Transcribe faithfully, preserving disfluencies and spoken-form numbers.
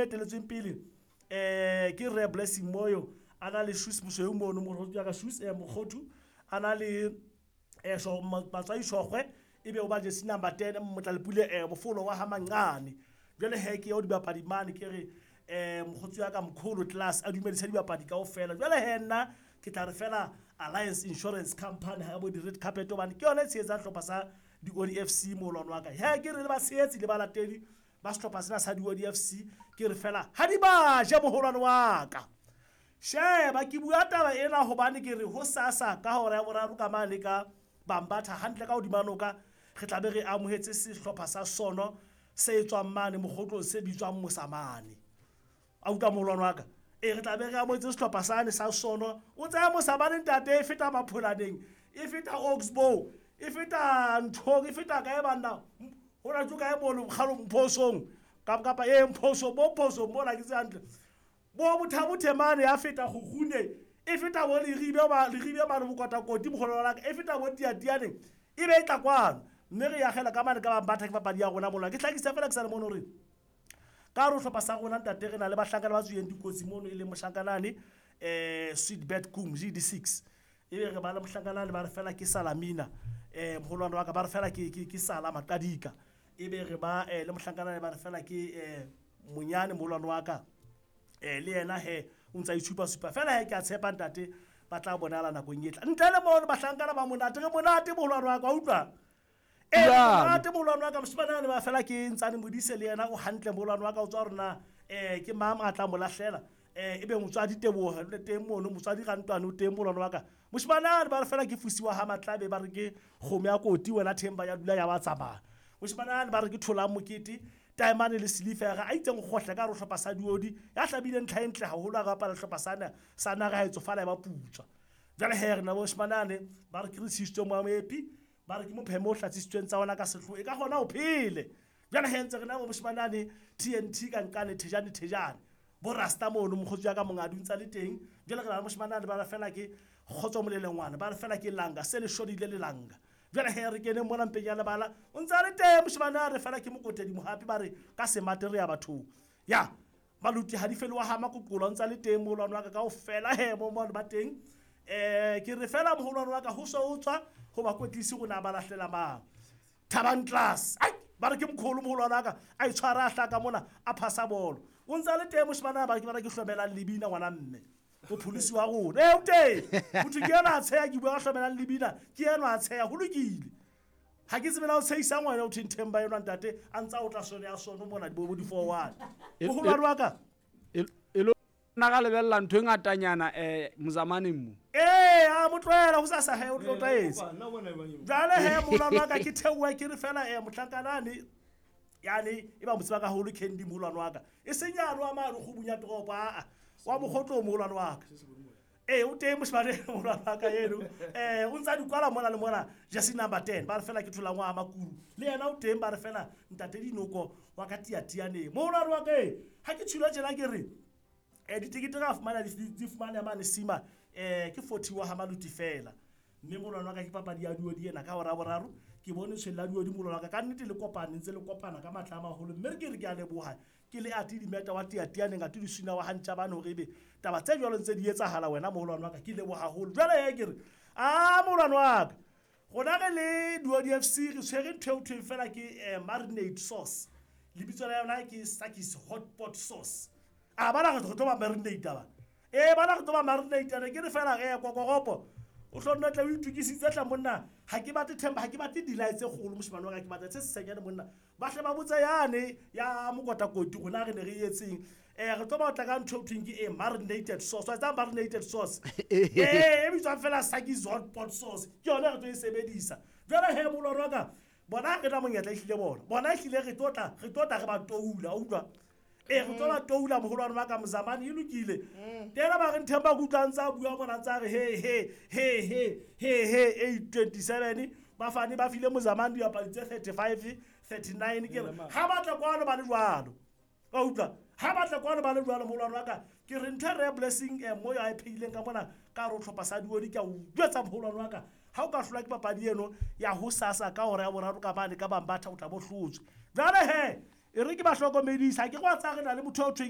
Eteletsweng pele um ke Re Blessing Moyo, a na le Shoes Mosweu mono morodi ya ka Shoes um Mokgothu, a na le um Batswai Shogwe, ebe o ba jersey number ten Motlalepule um Bofolo wa Hamancane. Jwale he ke eo dibapadi mane, ke re um mokgotsi wa ka Mkholo Class a dumedisa dibapadi kaofela. Jwale he nna ke tla re fela Alliance Insurance Company ha bo di-red carpet, hobane ke yona e tshehetsang hlopha sa Diodi F C moholwane wa ka. He ke re le batshehetsi le balatedi ba sehlopha sena sa Diodi F C, ke re fela ha di ba je moholwane wa ka. Sheba ke bua taba ena hobane ke re hosasa ka hora ya boraro ka mane ka Bambatha hantle ka hodima noka, re tla be re amohetse sehlopha sa Sono se tswang mane mokgotlong se bitswang Mosamane. A utlwa moholwane wa ka? E re tla be re amohetse sehlopha sane sa Sono. O tsaya Mosamane ntate, e feta Mapholaneng, e feta Oxbow, e feta Nthong, e feta kae banna? Hona tjo kae mono kgalo Mphosong? Kapa e Mphosong, bo Mphosong mona ke tse hantle. Bo Bothabothe mane ya feta Kgukgune, e feta bo Leribe ba Leribe mane Bokotakoti moholwane wa ka, e feta bo Tiatianeng, e be e tla kwano. Mme re akgela ka mane ka Bambatha ke papadi ya rona mola. Ke hlakisa fela ke sa le mono hore ka hare ho hlopha sa rona ntate re na le bahlankana ba tswileng dikotsi mono, e leng mohlankana eh Sweetbet Kum G D six. Ebe re ba le mohlankana ba re fela ke Salamina, eh moholwane wa ka ba re fela ke ke ke Sala Maqadika. Ebe re ba le mohlankana ba re fela ke eh Monyane moholwane wa ka. Eh le yena he o ntsa itshupa supa fela he ke a tshepa ntate ba tla bonala nakong e tla. Ntle le mono bahlankana ba monate, re monate moholwane wa ka, wa utlwa? Eh monate moholwane wa ka, moshemane ba fela ke Ntsane Modise le yena o hantle moholwane wa ka, o tswa rona eh ke mang a tla mo lahlela, eh ebe motswadi Teboho le teng mono, motswadi Rantwane o teng moholwane wa ka. Moshemane ba re fela ke Fusiwa ha Matlabe, ba re ke kgomo ya koti wena Themba ya dula ya ba tsamaya. Moshemane ba re ke Thola Mokete, Taemane le Silifera a itseng kgohle ka re hlopha sa Diodi ya hlabile ntlha e ntle haholo a bapala hlopha sana sa naga ha e tsofala ya ba putswa. Jwale he re na moshemane ba re ke re sisitswe mo Moepi, ba re ke mophemo o hlatsisitsweng tsa ona ka sehloho, e ka kgona ho phele. Jwale he ntse re na moshemane T N T ka nkane Thejane Thejane bo Rasta mono mokgotsi wa ka mongadi o ntsa le teng. Jwale re na moshemane ba re fela ke Kgotso Molelengwana, ba re fela ke Langa se le shodile le Langa. Jwale he re kene mona mpeng ya lebala o ntsa le teng moshemane a re fela ke Mokotedi Mohapi, ba re ka semate re ya bathong. Ya Maluti ha di fele wa ha Makokola o ntsa le teng moholwane wa ka kaofela he mo mo ba teng. Eh ke re fela moholwane wa ka ho so o tswa ho ba kwetlisi rona ba lahlela mang Thabang Class. Ai ba re ke mkholo moholwane wa ka a itshwara a hlaka mona a phasa bolo o ntsa le teng moshemane ba ke ba re ke hlomelang lebina ngwana mme o pholisi wa rona. Eh o teng motho ke yena a tsheya, ke bua ka hlomelang lebina ke yena a tsheya, ho lokile. Ha ke tsebe la o tshehisa ngwana o theng Themba enwa ntate a ntsa o tla sone ya sono mona di bo di four one. Moholwane wa ka e lo na ga lebella ntho e ngatanyana eh Mozamaneng mo. Eh a mo tlohela ho sasa he o tlo tlaetse. Jwale he moholwane wa ka ke theoha ke re fela eh mohlankana yani e ba mo tseba ka haholo Candy moholwane wa ka. E seng yalo wa mane kgubung ya toropo a wa mokgotlo moholwane wa ka. Eh o teng moshemane moholwane wa ka eno. Eh o ntsa dikwala mona le mona jersey number ten ba re fela ke thola ngwa Makuru. Le yena o teng ba re fela ntate Dinoko wa ka Tiatianeng. Moholwane wa ka e ha ke tshula tjena ke re eh ditekete ra fumana di fumana mane Sima eh ke forty wa ha Maluti fela. Mme moholwane wa ka ke papadi ya Diodi ena ka hora boraro ke bone tshwele la Diodi moholwane wa ka ka nnete le kopane ntse le kopana ka matla a maholo. Mme re ke re ke a leboha ke le ati dimeta wa Tiatianeng a tudisina wa hantja bana hore ebe taba tse jwalo ntse di etsahala wena moholwane wa ka ke leboha haholo. Jwale he ke re a moholwane wa ka rona re le Diodi F C re tshwere ntho eo thweng fela ke marinade sauce, lebitso la yona ke Sakis hot pot sauce. A bana re tlo ba marinate ba e bana re tlo ba marinate ne ke re fela re kokoropo o tlo nna tla o itukisitse tla monna. Ha ke batle Themba, ha ke batle dilai tse kgolo moshemane wa ka, ke batla tse senyane monna. Ba hle ba botsa yane ya Mokotakoti rona re ne re etseng eh re tlo ba tla ka ntho e thweng ke e marinated sauce. Wa tseba marinated sauce eh e bitswang fela Sakis hot pot sauce, ke yona re tlo e sebedisa. Jwale he moholwane wa ka bona re na monyetla ehlile bona bona ehlile re tlo tla re tlo tla re ba toula, utlwa e re tlo ba toula moholwane wa ka Mozamane e lokile. Tena ba re Themba ke utlwa ntsa bua mona ntsa re he he he he he he eight twenty-seven ba fane ba file Mozamane diapadi tse thirty-five thirty-nine ke re ha batla kwano ba le jwalo ka utlwa ha batla kwano ba le jwalo moholwane wa ka ke re ntho re Blessing eh moyo a e phehileng ka mona ka re o hlopha sa Diodi ke a o jwetsa moholwane wa ka ha o ka hlolwa ke papadi eno ya hosasa ka hora ya boraro ka mane ka Bambatha o tla bo hlotswe. Jwale he E re ke ba hlokomedisa ke go a tsaya re na le motho o thweng